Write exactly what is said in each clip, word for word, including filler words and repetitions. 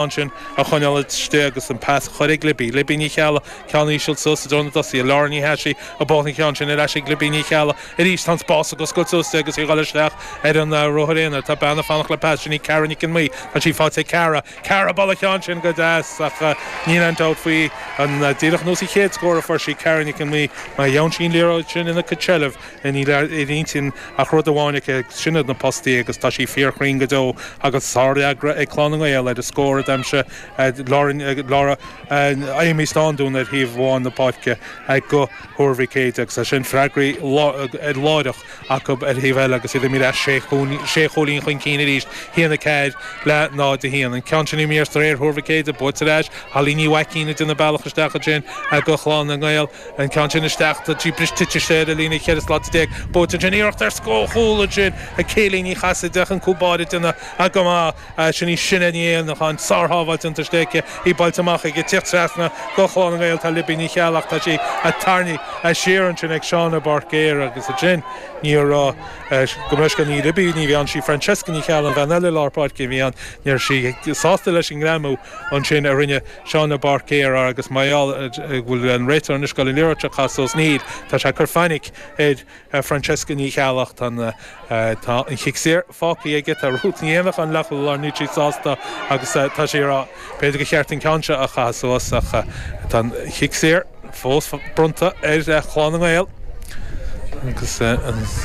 Ansin a choinneáil istigh agus an pas a chur ag Libby. Libby Ní Cheallaigh, ceann íseal suas i dtreo na dtosaithe. Laura Ní hEasaigh ag buachan an ceann sin ar ais ag Libby Ní Cheallaigh. Arís tá an spás ag oscailt suas di agus í ag dul isteach ar an ruathar aonair. Tá bean ag fanacht le pas. Sin í Cara Nic an Mhaoí. Tá sí faighte ag Cara. Cara ag bualadh an ceann sin go deas ach níl aon dabht faoi an díreach nós an chéad scór a fuair sí Cara Nic an Mhaoí má gheobhann sí an liathróid sin ina cuid seilbh níl ar intinn ach rud amháin aici sin iad na postaí agus tá sí fíorchruinn go deo agus sárfhreagra ag Clann na nGael ar an scór a d'aimsigh Laura Amy Standún ar thaobh amháin na páirce go Thuar Mhic Éadaigh agus é sin freagraí láithreach acu ar thaobh eile agus iad imithe ar sé chúilín chun cinn arís haon a ceathair le náid a haon. An ceann sin imithe ar réir Thuar Mhic Éadaigh buaite ar ais Holly Ní Mhaicín ag déanamh bealach isteach ansin go Chlann na nGael an ceann sin isteach tá sí briste tite sé ar líne cheithre slat déag buaite ansin iarracht ar scór ansin ag Céilí Ní Chasaide an cúl báire ag déanamh go maith sin í Sinéad Ní Éanacháin sársábháil déanta istigh í buailte amach ag tíocht trasna go Chlann na nGael tá Libby Ní Cheallaigh tá sí tarraingthe siar ansin ag Seána Barcéir agus ansin ní raibh go meis go ní Libby ní bhíonn sí Francesca Ní Cheallaigh an bhean eile lár páirce bhí an níor sí sásta leis an ngreamú ansin a rinne Seána Barcéir agus maiáil bhfuil an réiteoir anois ag goil an liathróid a chaitheamh suas níl tá sé ag cur fainic ar Francesca Ní Cheallaigh tá tá an chic saor fágtha aige tá Ruth Ní Éanacháin leath lár níl sí sásta agus tá sé rá b'fhéidir gur cheart an ceann seo a chaitheamh suas ach tá an chic saor fós bronnta ar Chlann na nGael. Agus an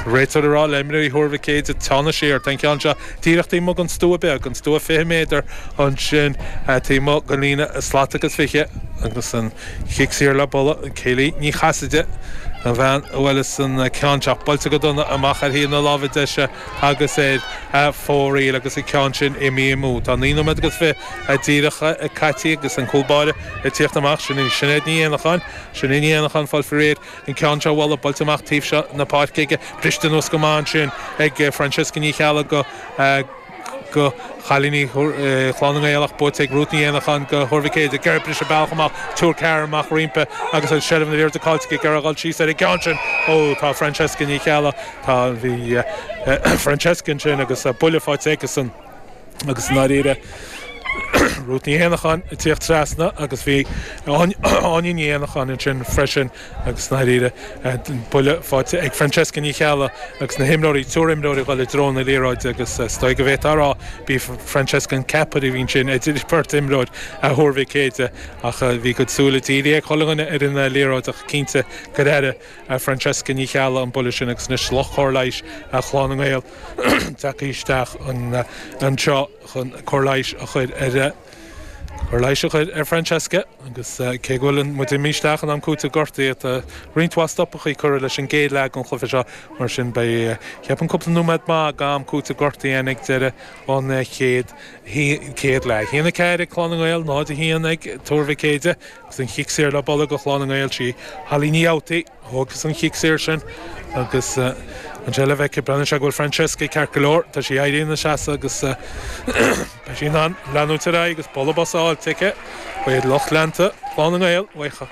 réiteoir ag rá le imreoirí Thuar Mhic Éadaigh teannadh siar tá an ceann seo díreach taobh amuigh den stua beag an stua fiche méadar ansin taobh amuigh den líne slat agus fiche agus an chic saor le bualadh Céilí Ní Chasaide an bhean a bhuaileas an ceann seo buailte go dona amach ar thaobh na láimhe deise agus ar fóraoil agus an ceann sin imithe amú. Tá naoi nóiméad agus fiche díreach caite agus an cúl báire ag tíocht amach sin Sinéad Ní Éanacháin Sinéad Ní Éanacháin fáil faoi réir an ceann seo a bhualadh buailte amach taobh seo na páirce aige briste anuas go maith ansin ag Francesca Ní Cheallaigh go go chailíní Chlann na nGael ach buaite ag Ruth Ní Éanacháin go Thuar Mhic Éadaigh ag briseadh bealach amach triúr ceathrar amach roimpi agus an seilbh na liathróide caillte ag iarraidh dul síos ar an gceann sin ó tá Francesca Ní Cheallaigh tá bhí Francesca ansin agus buille faighte aici san agus ndáiríre Ruth Ní Éanacháin ag tíocht trasna agus bhí Áine Ní Éanacháin ansin freisin agus ndáiríre buille faighte ag Francesca Ní Cheallaigh agus na himreoirí triúr imreoirí dul i dtreo na liathróide agus is dóigh go bhféadfá a rá bhí Francesca an ceapaire a bhí ansin idir beirt imreoir a Thuar Mhic Éadaigh ach bhí go súile dírithe ag chuile dhuine ar an liathróid ach cinnte gur airigh Francesca Ní Cheallaigh an buille sin agus anois lucht cóir leighis Chlann na nGael tagtha isteach anseo chun cóir leighis a chur ar cóir leighis a chur ar Francesca agus cé go bhfuil muid imithe isteach in am cúitimh gortaithe tá roinnt mhaith stopachaí curtha leis an gcéad leath den chluiche seo mar sin beidh ceapaim cúpla nóiméad maith d'am cúitimh gortaithe ag deireadh an chéad chéad leath. Haon a ceathair ag Clann na nGael, náid a haon ag Tuar Mhic Éadaigh agus an chic saor le bualadh go Chlann na nGael sí Holly Ní Fhabhtaigh thógas an chic saor sin agus an seilbh aici breathnaíonn sé go bhfuil Francesca ceart go leor tá sí éirithe ina seasamh agus beidh sí in ann leanúint ar aghaidh agus bualadh bos a fháil aici beidh lucht leanta Chlann na nGael uaidh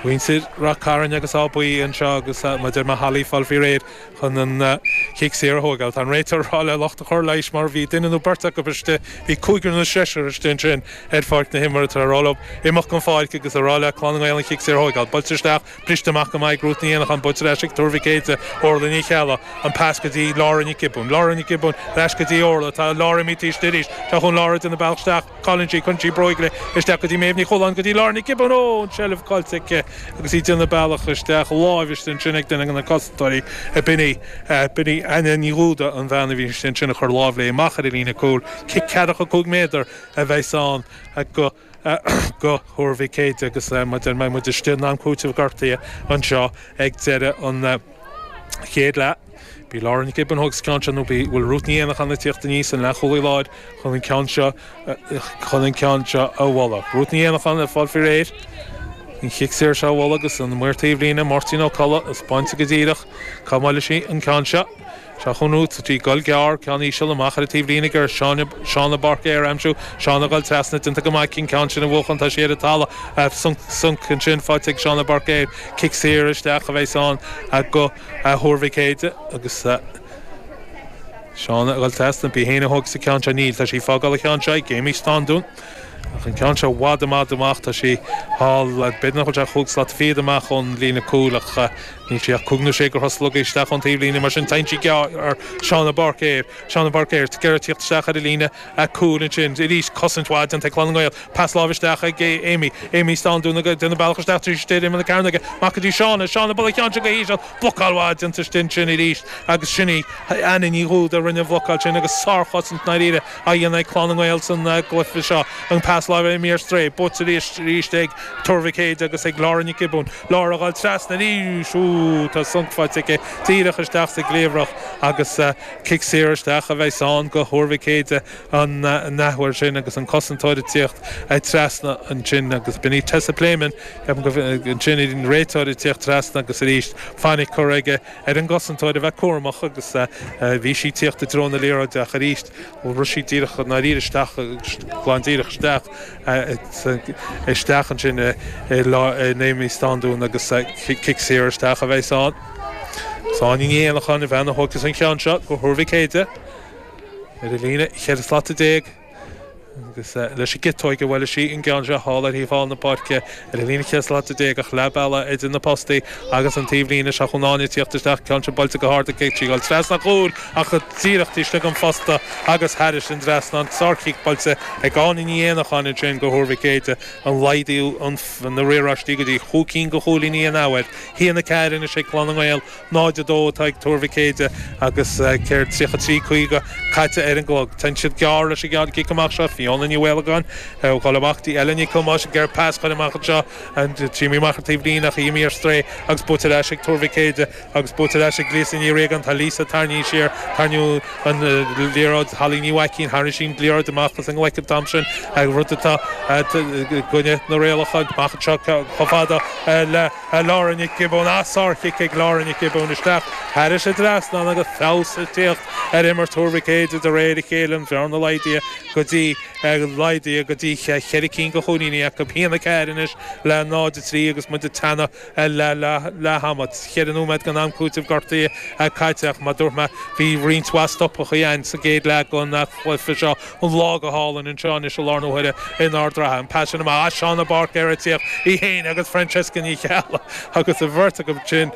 mhuintir Ráth Cairn agus Áth Buí anseo agus maidir le Holly fáil faoi réir chun an chic saor a thógáil. Tá an réiteoir ag rá le lucht an chóir leighis mar bhí duine nó beirt acu istigh bhí cúigear nó seisear istigh ansin ar pháirc na himeartha tar rá leo imeacht den pháirc agus a rá le Clann na Gael an chic saor a thógáil. Buailte isteach briste amach go maith Ruth Ní Éanacháin buailte ar ais ag Tuar Mhic Éadaigh Orla Ní Cheallaigh an pas go dtí Laura Nic Giobúin. Laura Nic Giobúin ar ais go dtí Orla tá Laura imithe arís Tá chun Laura déanamh bealach isteach cailleann sí cuireann sí bróig léi isteach go dtí Méabh Ní Chualáin go dtí Laura Nic Giobúin ó an seilbh caillte aici agus í déanamh bealach isteach láimh istigh ansin ag duine de na cosantóirí b'in í b'in í Anna Ní Dhúda an bhean a bhí ansin a chur lámh léi amach ar an líne cúil cic ceathracha cúig méadar a bheas ann go go Thuar Mhic Éadaigh agus maidir mbeidh muid istigh in am cúitimh gortaithe anseo ag deireadh an chéad leath. Bhí Laura Nic Giobúin thóg ceann seo nó bhí bhfuil Ruth Ní Éanacháin ag tíocht aníos an leathchúlaí láir chun an ceann seo chun an ceann seo a bhualadh. Ruth Ní Éanacháin ag fáil faoi réir an chic saor seo a bhualadh agus an maor taobhlíne Máirtín Ó Colla is bainte go díreach cá mbuailfidh sí an ceann seo. Seo chun Ruth tí gol gearr ceann íseal amach ar an taobhlíne gur Seána Barcéir aimsiú Seána dul trasna déanta go maith an ceann sin a bhuachan tá sé ar an talamh sonc ansin faighte ag Seána Barcéir cic saor isteach a bheas ann go Thuar Mhic Éadaigh agus Shauna ag dul trasna bí héana thug sa ceann seo níl tá sí fágáil an ceann seo ag Amy Standún. Ach an ceann seo i bhfad amach amach tá sí thall b'fhéidir nach bhfuil sé chúig slat fichead amach ón líne cúil ach níl sí ach cúig nó sé de throsanna isteach ón taobhlíne mar sin téann sí gearr ar Shauna Barker. Shauna Barker ag iarraidh tíocht isteach ar an líne cúil ansin arís cosaint mhaith déanta ag Clann na nGael. Pas láimhe isteach ag Amy. Amy Standún ag déanamh bealach isteach trí istigh imeall na cearnóige amach go dtí Shauna. Shauna bualadh an ceann seo go híseal. Blocáil mhaith déanta istigh ansin arís agus sin í Anna Ní Dhúda a rinne an bhlocáil sin agus sárchosaint ndáiríre á dhéanamh ag Clann na nGael san gcluiche seo. An pas láimhe imithe ar strae, buaite arís arís ag Tuar Mhic Éide agus ag Laura Nic Giobúin. Laura ag dul trasna arís, ú tá sonc faighte aici díreach isteach sa gcliabhrach agus cic saor isteach a bheas ann go Thuar Mhic Éide an athuair sin agus an cosantóir ag tíocht trasna ansin agus b'in í Tessa Playman ansin an réiteoir ag tíocht trasna agus arís fainic curtha aige ar an gcosantóir a bheith cúramach agus bhí sí ag tíocht i dtreo na liathróide ach arís rith sí díreach ndáiríre isteach glan díreach isteach isteach ansin in Amy Standún agus cic saor isteach a bheas ann. Áine Ní Éanacháin an bhean a thógfas an ceann seo go Thuar Mhic Éide ar an líne cheithre slata déag. Agus leis an gciotóig a bhuailfidh sí an gceann seo thall ar thaobh thall na páirce ar an líne cheithre slata déag ach leath bealaigh idir na postaí agus an taobhlíne seo chun Áine tíocht isteach, ceann seo buailte go hard aici, sí ag dul trasna chúil ach díreach taobh istigh den phosta agus thairis an dtrasnán. Sárchic buailte ag Áine Ní Éanacháin ansin go Thuar Mhic Éide an laghdú na riaráistí go dtí chúig cinn de chúilíní an athuair. Haon a ceathair anois ag Clann na nGael, náid a dó atá ag Tuar Mhic Éide agus céard tríocha trí caoga caite ar an gclog. Téann siad gearr leis an gceann cic amach seo. Fiona Ní Mhaolagáin ag dul amach dtí Ellen Nic Thomáis ag iarraidh pas a chur amach anseo imithe amach ar taobh líne ach imithe ar strae agus buaite ar ais ag Tuar Mhic Éide agus buaite ar ais ag Lisa Ní Riagáin. Tá Lisa tarraingthe siar, tarraingíodh an liathróid Holly Ní Mhaicín, tharraing sí an liathróid amach as an nglaic an t-am sin, rud atá i gcoinne na rialacha. Amach anseo chomh fada le Laura Nic Giobúin. Ah, sárchic ag Laura Nic Giobúin isteach thairis an dtrasnán agus feabhas ag tíocht ar imirt Thuar Mhic Éide de réir a chéile, an bhearna laghdaithe go dtí laghdaithe go dtí cheithre cinn de chúilíní acu. Haon a ceathair anois le náid a trí agus muid ag teannadh le leath ama. Ceithre nóiméad den am cúitimh gortaithe caite ach mar a dúirt mé bhí roinnt mhaith stopachaí ann sa gcéad leath den chluiche seo. An lá go hálainn anseo anois i lár na huaire in Ard an Rátha. An pas sin amach as Shauna Barker ag tíocht í féin agus Francesca Ní Cheallaigh agus an bheirt acu sin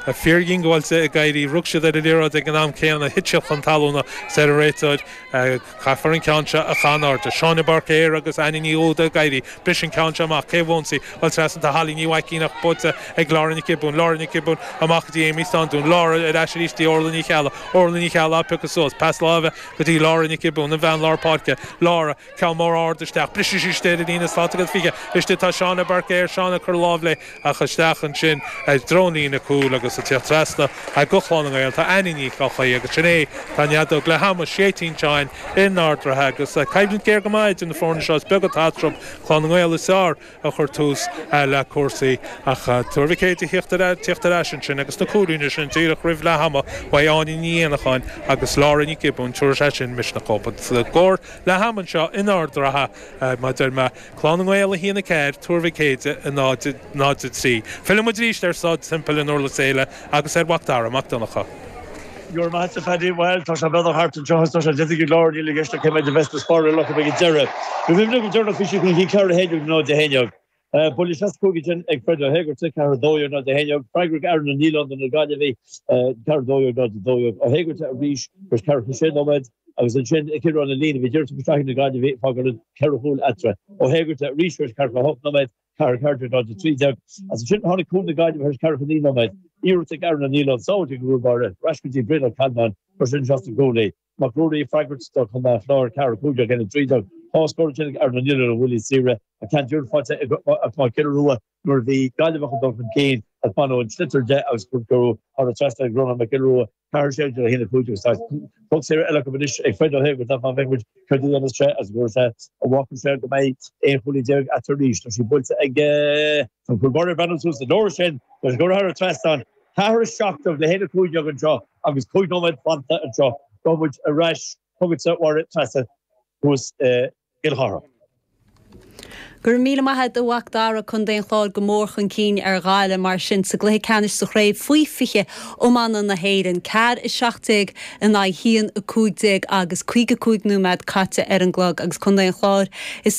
fíordhiongbháilte ag éirí. Rug siad ar an liathróid ag an am céanna, thit siad chun talúna is ar an réiteoir. Caithfear an ceann seo a chur in airde. Shauna Barker agus Annie Ní Dhúda ag éirí. Bris an ceann seo amach. Cé a bhuann í? Bhuel trasna tá Holly Ní Mhaicín ach buaite ag Laura Nic Giobúin. Laura Nic Giobúin amach go dtí Amy Standún. Laura ar ais arís dtí Orla Ní Cheallaigh. Orla Ní Cheallaigh á piocadh suas. Pas láimhe go dtí Laura Nic Giobúin, an bhean lár páirce. Laura, ceann mór ard isteach. Briseann sí istigh ar an líne slat agus fiche. Istigh tá Shauna Barker. Shauna ag cur lámh léi ach isteach ansin i dtreo an líne cúil agus ag tíocht trasna go Clann na nGael tá Annie Ní Eochaidh agus sin é tá an fheadóg leath ama séidte anseo in Ard an Rátha agus coimhlint géar go maith idir na foirne seo. Is beag atá eatarthu, Clann na nGael is fearr a chuir tús le cúrsaí ach Tuar Mhic Éide ag tíocht ar ais ansin agus na cúilíní sin díreach roimh leath ama uaidh Áine Ní Éanacháin agus Laura Nic Giobúin tabharfaidh sé sin misneach dóibh. An scór leath ama anseo in Ard an Rátha mar a deir mé, Clann na nGael a haon a ceathair, Tuar Mhic Éide a náid náid a trí. Filleann muid arís ar Staid Semple in Durlas Éile agus ar Mhac Dara Mac Donncha. Go raibh maith agat a Phaddy. Bhuel, tá sé beagnach thart anseo agus tá sé déanta go leor, níl i gceist ach cé mhéad a bheas de spáráil acu ag an deireadh. Bhí muimhne go deireanach bhí siad chun cinn ceathair a haon déag náid a haon déag. Buille seasca cúig ansin ag Fred Ó hÉigeartaigh, ceathair a dó dhéag náid a haon déag. Freagra ag Aaron Ó Nialláin do na Gaillimhigh, ceathair a dó dhéag náid a dó dhéag. Ó hÉigeartaigh arís tar éis ceathracha sé nóiméad agus ansin ag Ciarán Ó Lín a bhí díreach isteach ag na Gaillimhigh ag fágáil ceithre chúl eatarthu. Ó hÉigeartaigh arís tar éis ceathracha a hocht nóiméad. Ceathair a ceathair déag náid a trí déag. Agus ansin tháinig cúl na Gaillimhe tar éis ceathracha naoi nóiméad. Iarracht ag Aaron Ó Nialláin, sábháilte ag an gcúl báire, ar ais go dtí Brian Ó Ceannabháin, chuir sin isteach sa gcúl é. Mac Ruairí ag freagairt do Chontae an Chláir, ceathair a cúig déag a haon a trí déag. Dhá scór ansin ag Aaron Ó Nialláin ó bhuillí saora. An ceann deireanach faighte ag Mac Giolla Rua nuair a bhí Gaillimh chun dul chun cinn ach baineadh an sliotar de agus cuireadh thar an trasnán ag Rónán Mac Giolla Rua. Ceathair a sé déag a haon a cúig déag agus tá poc saor eile acu anois ag Fred Ó hÉigeartaigh má bheidh muid céard a dhéanfas sé agus go sé a bhfágfaidh sé go mbeidh aon chúilín déag eatarthu arís. Tá sí buailte ag an cúl báire ag breathnú suas an uair sin tá sí curtha thar an trasnán. Ceathair a seacht déag le haon a cúig déag anseo agus cúig nóiméad fanta anseo. Gabhfaidh muid ar ais chugatsa a Mháire Treasa thuas i gCill Chartha. Go raibh míle maith agat a Mhac Dara Contae an Chláir go mór chun cinn ar Ghaillimh mar sin sa gcluiche ceannais sa chraobh faoi fiche iomána na hÉireann. Ceathair a seacht déag in aghaidh haon a cúig déag agus caoga cúig nóiméad caite ar an gclog agus Contae an Chláir is